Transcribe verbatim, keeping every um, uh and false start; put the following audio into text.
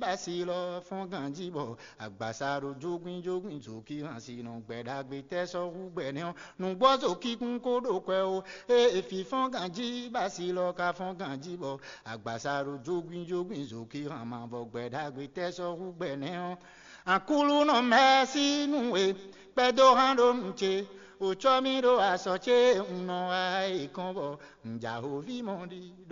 Basi lɔ fɔ́n ganjí bɔ agbasa ɖo jógwínjógwín zokíhan si nɔ gbɛ ɖagbe tɛ́ sɔ́ hú gbɛ nɛ́ ɔ́, nǔgbɔ́ zokíkún kó ɖo kwɛ ó. Ée fí fɔ́n ganjí basi lɔ ka fɔ́n ganjí bɔ agbasa ɖo jógwínjógwín zokíhan ma bɔ gbɛ ɖagbe tɛ́ sɔ́ hú gbɛ nɛ́ ɔ́, Aklúnɔ mɛ̌si nú we, kpɛdó hán ɖó nǔ ce, wǒ cɔ́ mì ɖó asɔ ce un nɔ wa é kɔn bɔ un ja hǒví mɔ ɖi.